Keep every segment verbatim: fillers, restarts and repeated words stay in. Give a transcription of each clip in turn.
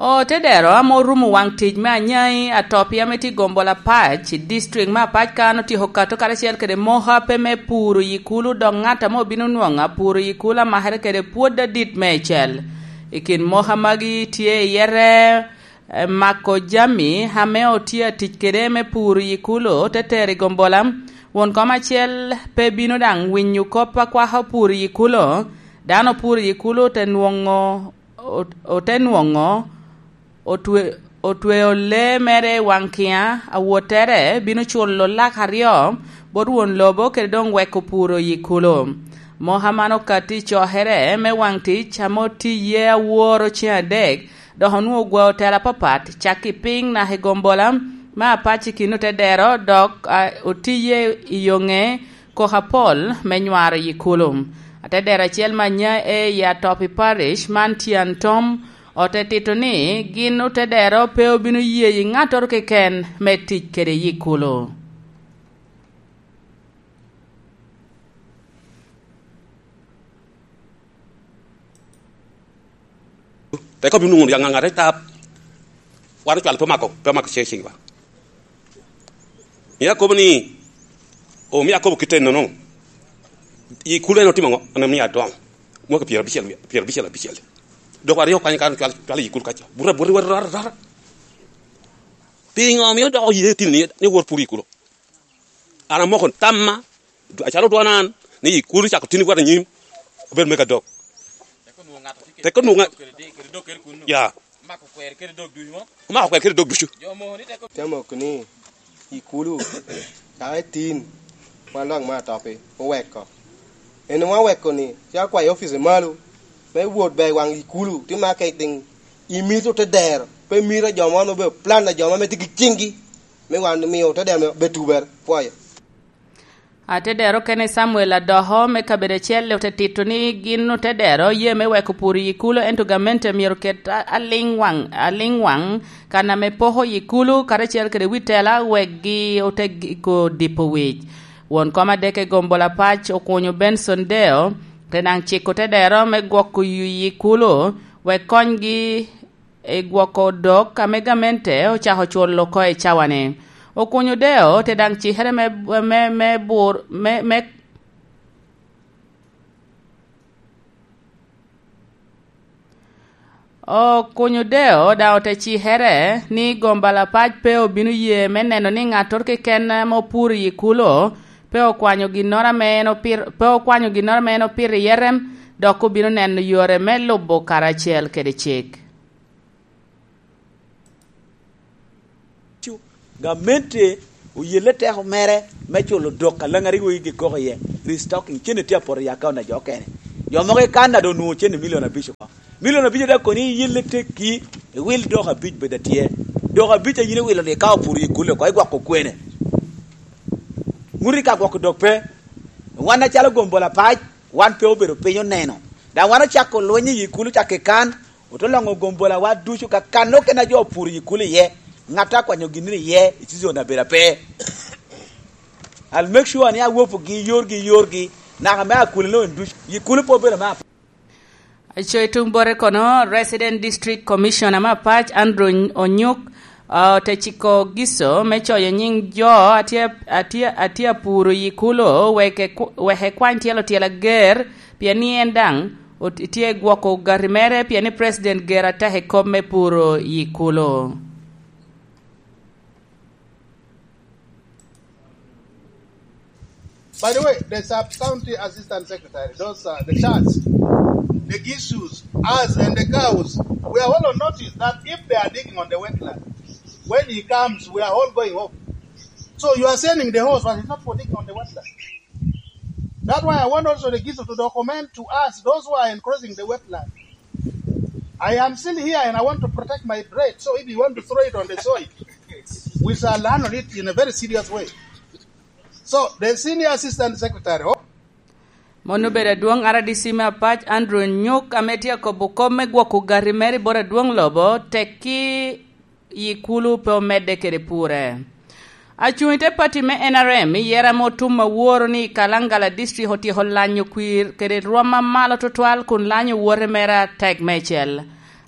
Otedero ame orumo waŋ tic me anyai atop ame tye i gombola apac i district me apac kan otyeko kato karacel kede moka pe me puro yi kulu, dok ŋat ame obino nwoŋo apuro yi kulu amakere kede pwod adit meicel. I kin moka magi tye iye re, eh, mako jami ame otye atic kede me puro yi kulu te tero i gombola. Won kom acel pe bino daŋ winyo kop a kwako puro yi kulu. Dano puro yi kulu te nwoŋo ot-, ote nwoŋo otwe-, otweo lee mere i waŋ kiŋa, awottere bino culo lak aryo bot won lobo kede doŋ weko puro yi kulu. Moka man okatti i cokere me waŋ tic ame otiye aworo ceŋ adek, dok onwoŋo ogwao tela apapat, cak i piny naka i gombola me apac i kin otedero, dok, a, otiye i yoŋe koko apol me nywaro yi kulu. Atedero acel me anya e i Atopi Parish man tyen tom ote tito ni gin otedero pe obino ye yi ŋattoro keken me tic kede yi kulu. Te kop inwoŋo ya ŋaŋat i tap. Wan ocwalo pe omako, pe omako ce ciŋ ba. Mio akobo ni, omio akobo kite nono. I kulu en otimo ŋo? En omio adongo. Mwaka pyerabicel, pyerabicel abicel. Dok aryo kany kan cwal, cwal i kulu kaca. Bura, bura, bura, bura, bura. Pingo omio dok oye tini ni, ni wor pur i kulu? An amoko tamma, acalo dwana an, ni i kulu cako tini wot anyim, obed mega dok. Tek onwoŋo ŋa-, ya. Omako kwer kede dog ducu. Te mok ni, i kulu, caka i tin, wan lwak me atopi, oweko. En wan oweko ni, caka kwayo ofice malo, me wot ber i waŋ i kulu, ti marketing, imito te dero, pe mito a jo man obedo plan a jo man me tye ki ciŋgi, me wan mio te dero me betuber, pwoyo. Atedero kene Samuel Adoko me kabedo acel ote tito ni gin otedero ye me weko pur i kulu, ento gamente myero ket a-, aliŋ waŋ, aliŋ waŋ kan ame poko i kulu karacel kede wi tela wek gi ote giko dipo wic. Won kom adek i gombola pac okunyo Benson Deo, te daŋ ciko otedero me gwoko yui i kulu wek konygi i gwoko odok ame gamente ocako culo oko i cawa-ni. Okunyo Deo te daŋ cikere me, me, me bur-, me, me, Okunyo Deo daŋ ote cikere ni gomba lapac pe obino ye me neno ni ŋattoro keken ame opuro i kulo pe okwanyo ginnoro ame en opir-, pe okwanyo ginnoro ame en opito iye rem, dok obino neno yore me lubo karacel kede cik. Gamente oyelle teko mere me culo dok a Laŋariŋo i gikoko iye, restocking, cene tye apoto i akaun a jo okene. Jo mogo i Canada onwoŋo cene milion abic oko. Milion abic a dok koni iyelle tekki, iwil dok abic bed atye. Dok abic a yin iwilo-ni ka opuro i kulle oko, igwoko kwene? Ŋuti ka gwoko dok pe. Wan acalo gombo lapac, wan pe obedo piny oneno. Daŋ wan ocako lweny i kulo cak i kan, ote loŋo gombo lawa ducu ka kan okene a jo opuro i kulo iye, ŋat a kwanyo ginnoro iye i season abedo ape. I'll make sure ni awopogi yorgi, yorgi, naka me akuli no en ducu. I kulo pe obedo me ape. Aco i tuŋ bote kono, Resident District Commissioner me apac, Andrew Onyuk, ah, ote ciko Giso me coyo nyiŋ jo a tye, a tye, a tye apuro i kulo, wek ekw-, wek ekwany tyelo tyel ager, pien ni en daŋ ot-, tye gwoko ogati mere, pien ni President ger atek i kop me puro i kulo. By the way, the sub-county assistant secretary, those are the chats, the issues, us and the cows, we are all on notice that if they are digging on the wetland, when he comes, we are all going home. So you are sending the horse, but it's not for digging on the wetland. That's why I want also the Giso to document to us those who are encroaching the wetland. I am still here and I want to protect my bread. So if you want to throw it on the soil, we shall handle it in a very serious way. So the senior assistant secretary, oh, Mon obedo adwoŋ R D C me apac, Andrew Nyuk, ame tye akobo kop me gwoko gati mere i bot adwoŋ lobo, tekki i kulo pe omedde kede pure. Acuŋ i te pati me N R M i yera me otum aworo ni i Kalangala District otyeko lanyo kwir kede rwom a malo tutwal kun lanyo owote mere atek meicel.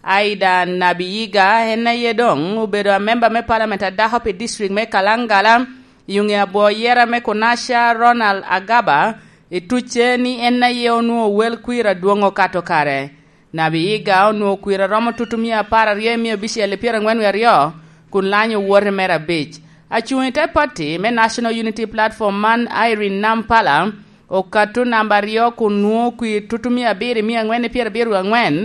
Aida Nabiyiga en aye doŋ obedo amemba me palamen a dako pi district me Kalangala, i ŋe abwoo yera me Kunasha Ronald Agaba, i tucce ni en aye onwoŋo wel kwir adwoŋ okato kare. Nabiyiga onwoŋo kwir a romo tutumia apar aryo i mia abicel i pyeraŋwen wie aryo, kun lanyo owote mere abic. Acuŋ i te pati me National Unity Platform man, Irene Nampala, okatto namba aryo kun nwoŋo kwir tutumia abiro i mia aŋwen i pyerabiro wie aŋwen.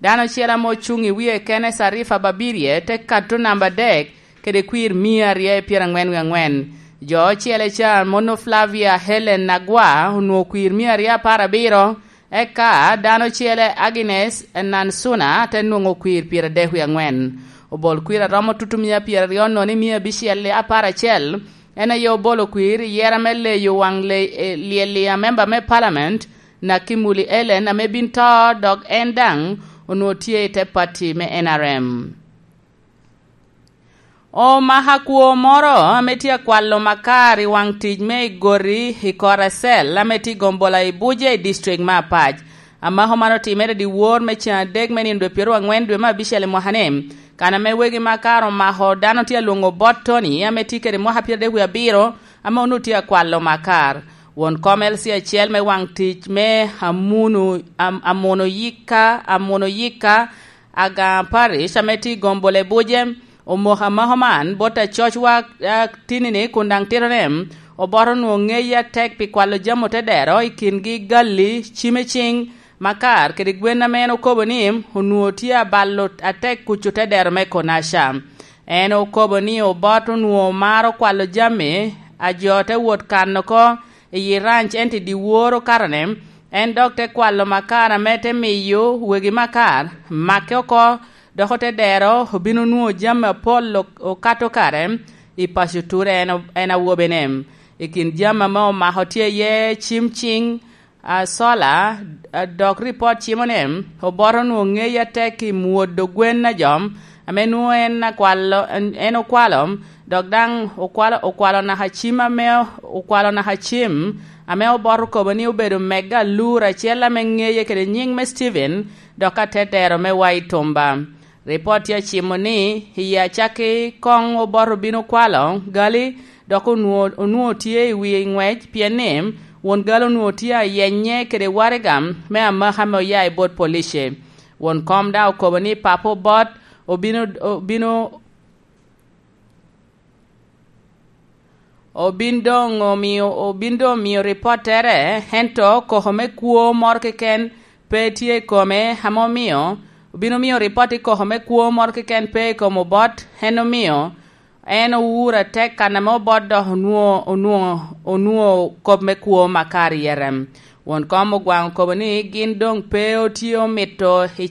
Dano ocel ame ocuŋ i wie kene, Sarifa Babirye, te katto namba adek kede kwir mia aryo i pyeraŋwen wie aŋwen. Jo ocele ca, mono Flavia Helen Nagwa, onwoŋo kwir mia aryo apar abiro, eka dano ocele, Agnes Nansuna, te nwoŋo kwir pyeradek wie aŋwen. Obol kwir a romo tutumia pyeraryo nono i mia abicel apar acel, en aye obolo kwir i yera me leyo waŋ le-, e, lyel i amemba me palamen, Nakimuli Ellen, ame bin to, dok en daŋ onwoŋo tye i te pati me N R M. Omaka kwo moro ame tye akwalo makar i waŋ tic me igoti i Koracel, ame tye i Gombola i Buja i district me Apac. Amako man otimere dyewor me cen adek me nino dwe pyeraryo aŋwen dwe me abicel i mwaka-ni, kan ame wegi makar omako dano tye alwoŋo bot Tony, ame tye kede mwaka pyeradek wie abiro, ame onwoŋo tye akwalo makar. Won kom L C acel me waŋ tic me Amuno, Am-, Amuno Yika, Amuno Yika, Aga Parish, ame tye i Gombola i Buje, omoko amako man bot acocwa, a, tinini kun daŋ tito ni, oboto onwoŋo ŋeye atek pi kwalo jami otedero i kingi galli, cim i ciŋ, makar kede gwen ame en okobo ni onwoŋo tye abalo atek kuc otedero me Konaca. En okobo ni Obot onwoŋo maro kwalo jami a jo te wot kano oko i yi ranc, ento i dyewor okatone, en dok te kwalo makar ame te miyo wegi makar make oko, dok otedero obino nwoŋo jami apol ok-, okato kare i paco Ture en o-, en awobene. I kin jami ame omako tye iye cim ciŋ, a, sola, a, dok ripot cimo ni Obot onwoŋo ŋeye atek i mwodo gwen a jo ame nwoŋo en akwalo, en, en okwalo, dok daŋ okwalo, okwalo naka cim ame, okwalo naka cim ame Obot okobo ni obedo mega alur acel ame ŋeye kede nyiŋ me Steven, dok atedero me wa i Tumba. Ripot tye acimo ni, i acakki koŋ Obot obino kwalo gali, dok onwoŋo, onwoŋo tye i wi ŋwec, pien ni won gali onwoŋo tye ayenye kede waraga me amaka ame oya i bot police. Won kom daŋ okobo ni Papa Obot obino, obino, obin doŋ omio, obin doŋ omio ripottere, ento koko me kwo moro keken pe tye i kome, ame omio obino mio ripot i koko me kwo moro keken pe i kom Obot, en omio en owuro atek kan ame Obot dok onwoŋo, onwoŋo, onwoŋo kop me kwo makar i yere. Won kom Ogwaŋ okobo ni gin doŋ pe otye omito i